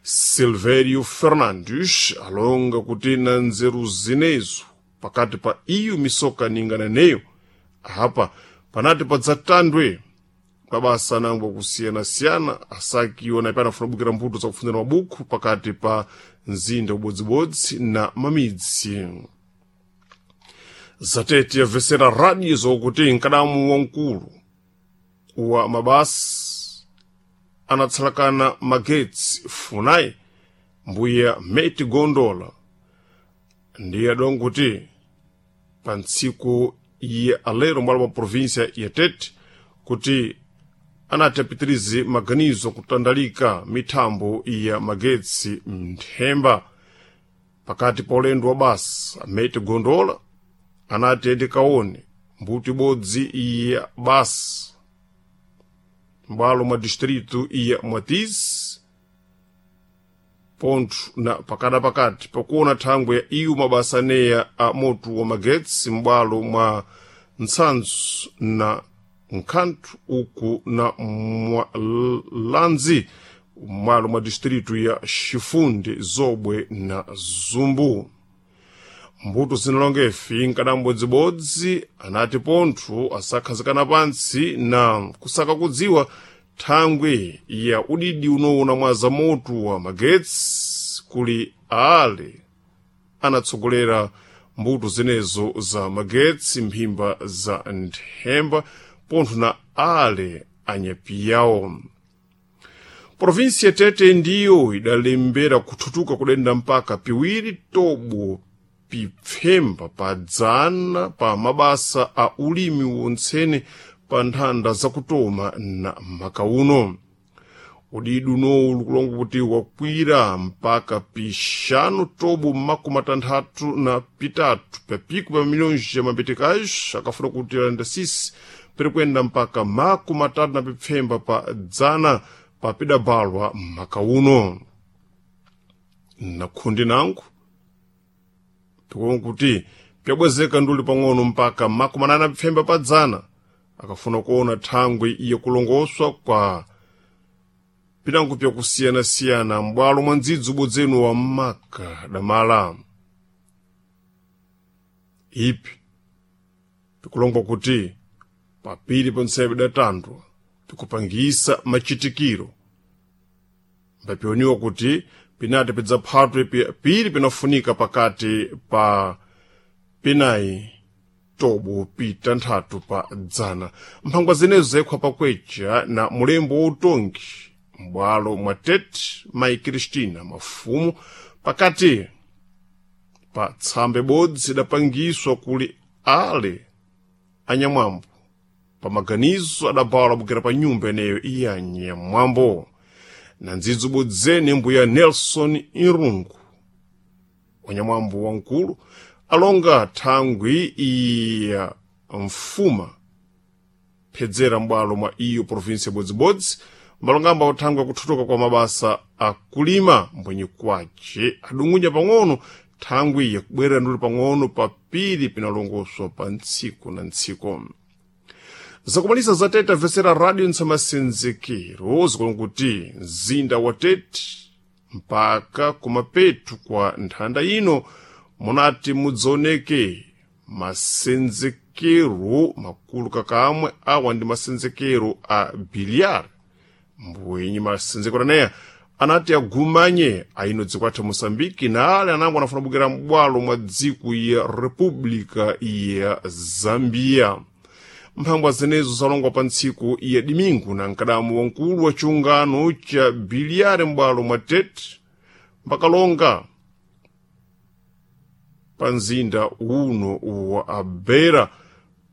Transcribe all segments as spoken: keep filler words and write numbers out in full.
Silvério Fernandes alonga kuti na nzeru zinezo pakati pa iyo misoka ningananeyo apa panati padzatandwe mabasa anangwa kusiyanasiyana asakiwa na panafuna kubukira mbuto zakufunzira mabuku pakati pa mzinda ubodzibodzi na mamidzi. Zatete yabvesera radio zokuti nkadamu wamkulu wa mabasa anatsalakana magetsi Funai mbuya Meti Gondola ndiye adonga kuti pa ntsiku ya alero mbwalo mwa província ya Tete kuti anati apitirize maganizo kutandalika mithambo ya magetsi mthemba. Pakati pa ulendo wa basa, Meti Gondola anati ende kaone mbuto ibodzi ya basa m'bwalo mwa distrito ya Mwatizi pontho na pakatapakati pakuona thangwe ya iwo mabasa aneya a moto wa magetsi m'bwalo mwa Ntsanzu na Nkhanthu uku na Mwalanzi m'bwalo mwa distrito ya Chifunde, Zobwe na Zumbu. Mbuto zinalongefi nkadambodzibodzi anati pontho asakhazikana pantsi na kusaka kudziwa thangwe ya udidi unowona mwa zamoto wa magetsi kuli ale anatsogolera mbuto zinezo za magetsi mphimba za nthemba pontho na ale anyapiyawo. Provinsi ya Tete ndiyo idalembera kuthutuka kudenda mpaka piwiri tobo pipfemba pa dzana pa mabasa a ulimi wontsene pa nthanda zakutoma na makauno. Udidi unowu likulonga kuti wakwira mpaka pixanu tobo makumi atanthatu na pitatu papiku pa milhões ya mabetekais akafuna kuti alanda sisi pirikwenda mpaka makumi atatu na pipfemba pa dzana papidabalwa makauno. Na khundi nangu pikuona kuti pyabwezeka nduli pang'ono mpaka makumi anana na pipfemba pa dzana akafuna kuona thangwe iye kulongoswa kwa pinango pyakusiyanasiyana m'bwalo mwa ndzidzi ubodzenu wa maka damala. Ipi pikulongwa kuti papiri ponsepo idatandwa pikupangisa machitikiro mbapioniwa kuti pinati pidzaphatwe piri pinafunika pakati pa pinayi tobo pitanthatu pa dzana. Mphangwa zinezo zayikhwa pakwecha na mulembo wautongi m'bwalo mwa Tete mayi Cristina Mafumu pakati pa tsamba ibodzi idapangiswa kuli ale anyamwambo pa maganizo adabawala abukira pa nyumba ineyo iya anyamwambo. Na ndzidzi ubodzene mbuya Nelson Irungu wanyamwambo wamkulu alonga thangwi iya mfuma phedzera m'bwalo mwa iyo provinsi yabodzibodzi mbalongamba uthangwi akuthutuka kwa mabasa akulima mbwenye kwace adungunya pang'ono thangwi yakubwerera nduli pang'ono papiri pinalongoswa pa ntsiku na ntsiku. Zakumalisa za Tete amvesera radio ntsamasenzekero zikulonga kuti mzinda wa Tete mpaka kumapetu kwa nthanda ino munati mudzaoneke masenzekero makulu kakamwe awa ndi masenzekero a biliar mbwenye masenzekero aneya anati agumanye aino dziko athu Moçambique na ale anango anafuna kubukira m'bwalo mwa dziko ya República ya Zambia. Mphangwa zinezo zalongwa pa ntsiku ya Dimingu na mkadamu wamkulu wa chiungano cha biliare m'bwalo mwa Tete mpakalonga pa mzinda uno wa Beira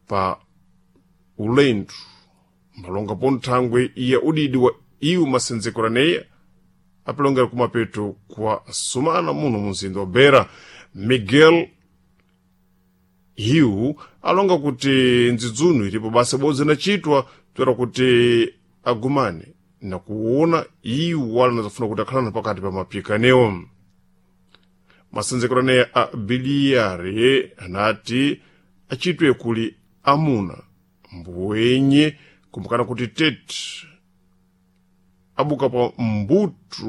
pa ulendo mbalonga ponthangwe ya udidi wa iwo masenzekero aneya apilongera kumapeto kwa sumana muno mu mzinda wa Beira. Miguel Hiu alonga kuti ndzidzunu ilipo basa bodzi inachitwa toera kuti agumane na kuona iwo wala anazafuna kuti akhalana pakati pa mapikanewo. Masenzekero aneya a biliyari anati achitwe kuli amuna mbwenye kumbukana kuti Tete abuka pa mbuto